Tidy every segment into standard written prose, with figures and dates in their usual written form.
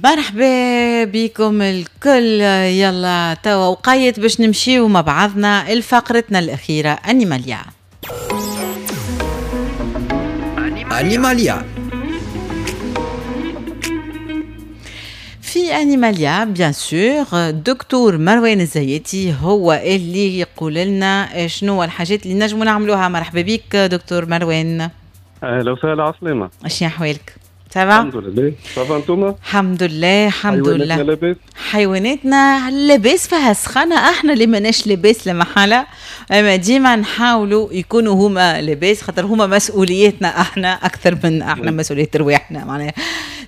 مرحبا بكم الكل. يلا توا وقيت باش نمشيو مع بعضنا لفقرتنا الأخيرة أنيماليا. أنيماليا. في أنيماليا bien sûr دكتور مروان الزياتي هو اللي يقول لنا شنو الحاجات اللي نجمو نعملوها. مرحبا بك دكتور مروان. اهلا وسهلا، عسلامة. شنو احوالك؟ ça va؟ الحمد لله، ça va انتوما؟ الحمد لله الحمد لله. حيواناتنا لاباس؟ حيواناتنا لاباس، فيها سخانة، احنا اللي ماناش لاباس لا محالة، اما ديما نحاولوا يكونوا هما لاباس خاطر هما مسؤوليتنا احنا اكثر من احنا مسؤولية رواحنا معناها.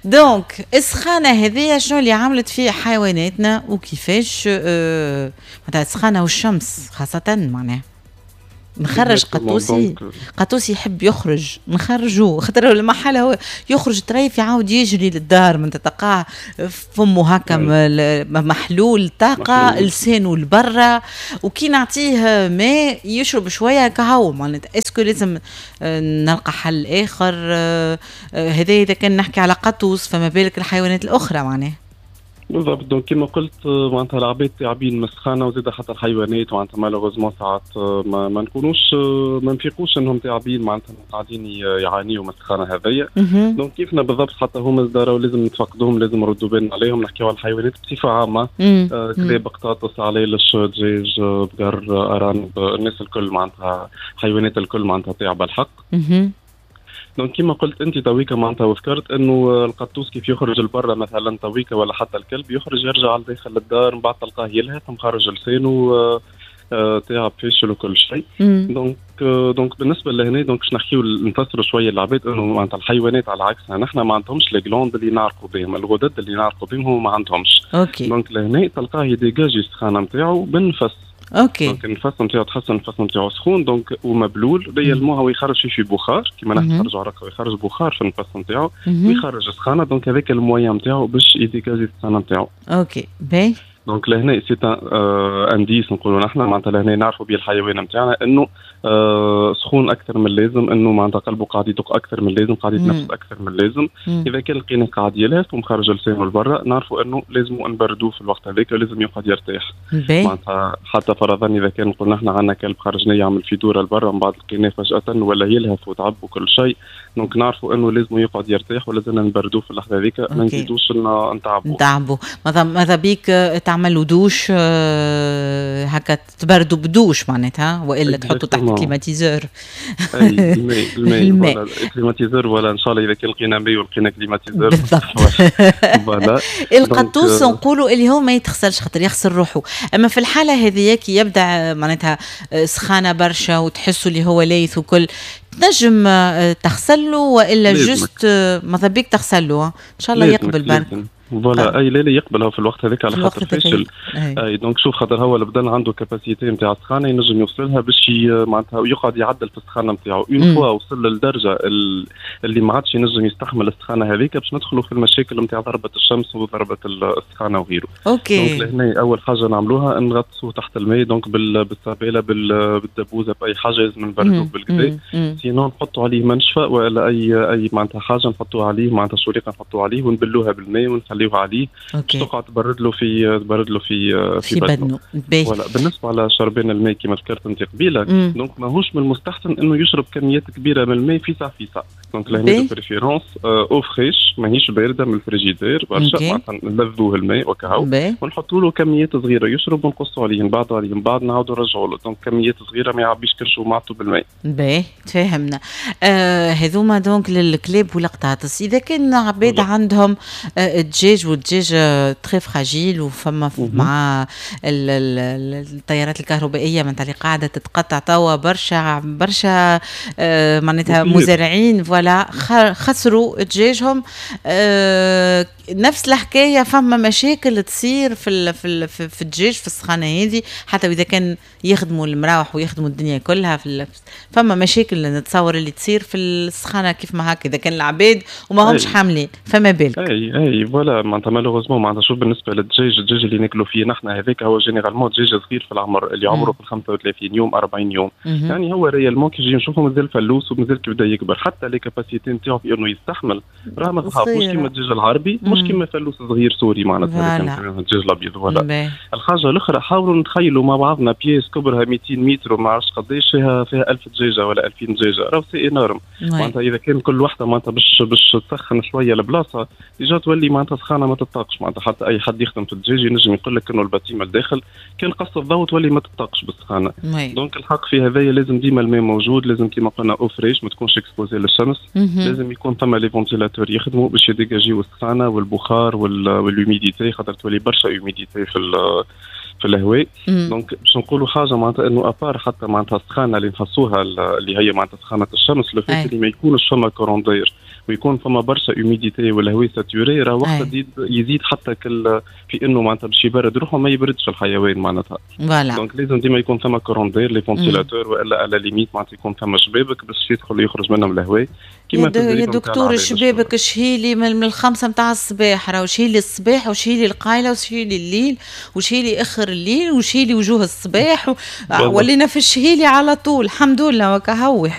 donc السخانة هذه شنو اللي عملت في حيواناتنا وكيفاش معناتها السخانة والشمس خاصة معناها. نخرج قطوسي، قطوسي يحب يخرج نخرجوه خاطر المحل هو يخرج طريف يعاود يجري للدار، من تلقاه فمه هكا محلول طاقة، لسانه لبرا، وكي نعطيه ماء يشرب شوية كهو معناتها. est-ce que لازم نلقى حل اخر؟ هذا اذا كان نحكي على قطوس، فما بالك الحيوانات الاخرى معناها. بالضبط. donc كما قلت معناتها العباد تعبين من السخانه وزاد حتى الحيوانات معناتها malheureusement ساعات ما نكونوش ما نفيقوش انهم تعبين معناتها قاعدين يعانيوا من السخانه هذيا. donc كيفنا بالضبط حتى هما زاد لازم نتفقدوهم، لازم نردوا بالنا عليهم. نحكيو على الحيوانات بصفة عامة، كلاب، قطاطس، علالش، دجاج، بقر، ارانب، الناس الكل معناتها حيوانات الكل معناتها تعب الحق. donc كيما قلت انت تويكا معناتها وذكرت انه القطوس كيف يخرج لبرا مثلا تويكا ولا حتى الكلب يخرج يرجع لداخل للدار، من بعد تلقاه يلهث مخرج لسانه تعب فاشل وكل شيء. donc بالنسبة لهنا donc باش نحكيو نفسروا شوية للعباد انه معناتها الحيوانات على عكسنا نحن ما عندهمش les glandes اللي نعرقوا بهم، الغدد اللي نعرقوا بهم هو ما عندهمش. okay. donc لهنا تلقاه يديجاجي السخانه نتاعو بالنفس. okay. donc النفس نتاعو تحس النفس نتاعو سخون donc ومبلول réellement هو يخرج فيه بخار كيما نحن نخرجوا عرق ويخرج بخار في النفس نتاعو ويخرج سخانه. donc هذاك ال moyen نتاعو باش يديجاجي السخانه نتاعو. okay باهي. donc لهنا c'est un indice نقولوا نحن معناتها لهنا نعرفوا به الحيوان نتاعنا انه سخون اكثر من اللازم، انه معناتها قلبه قاعد يدق اكثر من اللازم، قاعد يتنفس اكثر من اللازم. اذا كان لقينا قاعد يلهث ومخرج لسانه لبرا نعرفوا انه لازم نبردوه في الوقت هذاك ولازم يقعد يرتاح. معناتها حتى فرضا اذا كان قلنا احنا عندنا كلب خرجناه يعمل في دوره لبرا من بعد لقيناه فجاة ولا يلهث وتعب وكل شيء، donc نعرفوا انه لازم يقعد يرتاح ولازم نبردوه في اللحظة هذيك، ما نزيدوش نتعبوه. ماذا بيك تعملوا دوش هكا تبردوا بدوش معناتها، والا تحطوا تحت climatiseur. الماء climatiseur ولا ان شاء الله اذا كان لقينا ماء ولقينا climatiseur بالضبط. القطوس نقولوا اللي هو ما يتغسلش خاطر يغسل روحه، اما في الحالة هذه كي يبدا معناتها سخانه برشا وتحسوا اللي هو لايث وكل، تنجم تغسله والا juste ماذا بيك تغسله ان شاء الله يقبل برك. voilà اي لا يقبلها في الوقت هذاك على خاطر فاشل. اي donc شوف خاطر هو البدن عنده capacité نتاع السخانه ينجم يوصل لها باش معناتها يقعد يعدل في السخانه نتاعو. une fois وصل للدرجة اللي ما عادش ينجم يستحمل السخانه هذيك باش ندخلوا في المشاكل نتاع ضربه الشمس وضربه السخانه وغيره. okay. donc لهنا اول حاجة نعملوها نغطسوه تحت الماء، donc بالسباله بالدبوزه باي حاجة لازم نبردوه بالكدا. sinon نحطوا عليه منشفة ولا اي معناتها حاجة نحطوها عليه، معناتها شريقه نحطوها عليه ونبلوها بالماء ونخليه عليه تقعد تبرد له في بدنه. voilà. بالنسبة على شربان الماء كما ذكرت انت قبيلة، donc ماهوش من المستحسن انه يشرب كميات كبيرة من الماء في ساعة في ساعة. donc لهنا de préférence eau fraîche ماهيش باردة من الفريجيدير برشا، معناتها نلذوه الماء وكهو ونحطوا له كميات صغيرة يشرب ونقصوا عليه من بعد عليه من بعد نعاودوا نرجعوا له. donc كميات صغيرة ما يعبيش كرشه ومعته بالماء. باهي تفاهمنا. هذوما donc للكلاب والقطاطس. اذا كان عباد عندهم الدجاج والدجاج très fragile وفما مع التيارات الكهربائية معناتها اللي قاعدة تتقطع توا برشا برشا معناتها مزارعين voilà خسروا دجاجهم. نفس الحكاية فما مشاكل تصير في في الدجاج في السخانه هذه، حتى واذا كان يخدموا المراوح ويخدموا الدنيا كلها فما مشاكل نتصور اللي تصير في السخانه كيف ما هكا اذا كان العباد وما همش حاملين، فما بالك. اي voilà. voilà، معناتها malheureusement معناتها شوف، بالنسبة للدجاج، الدجاج اللي ناكلوا فيه نحن هذاك هو généralement دجاج صغير في العمر، اللي عمره في 35 يوم، 40 يوم. يعني هو réellement كي نجي نشوفه مازال فلوس ومازال كي بدا يكبر، حتى les capacités نتاعو في انه يستحمل راه ما تخاف، مش كيما الدجاج العربي، مش كيما فلوس صغير سوري معناتها الدجاج الابيض. voilà. الحاجة الاخرى، حاولوا نتخيلوا مع بعضنا pièce كبرها 200 متر وما عرفتش قداش، فيها 1000 دجاجه ولا 2000 دجاجه، راهو c'est énorme. معناتها اذا كان كل وحده معناتها باش تسخن شوية البلاصه، déjà تولي معناتها سخانه ما تطاقش. معناتها حتى اي حد يخدم في الدجاج ينجم يقول لك انه ال bâtiment الداخل كان قص الضوء تولي ما تطاقش بالسخانه. donc الحق في هذايا لازم ديما الماء موجود، لازم كيما قلنا eau fraîche، ما تكونش exposée للشمس، لازم يكون ثم les ventilateurs يخدموا باش يديجاجيو السخانه والبخار وال humidité، خاطر تولي برشا humidité في الهواء. donc باش نقولوا حاجة معناتها انه à part حتى معناتها السخانه اللي نحسوها، اللي هي معناتها سخانه الشمس، le fait اللي ما يكونش فما courant d'air ويكون فما برشا humidité والهواء saturé، راه وقت يزيد حتى كل في انه معناتها باش يبرد روحه، ما يبردش الحيوان معناتها. donc لازم ديما يكون فما courant d'air، les ventilateurs، والا à la limite معناتها يكون فما شبابك باش يدخل ويخرج منهم الهواء. كيما يا دكتور، شبابك شهيلي من 5 نتاع الصباح، راهو شهيلي الصباح وشهيلي القايله وشهيلي الليل وشهيلي اخر الليل وشهيلي وجوه الصباح ولينا في الشهيلي على طول، الحمد لله وكهو.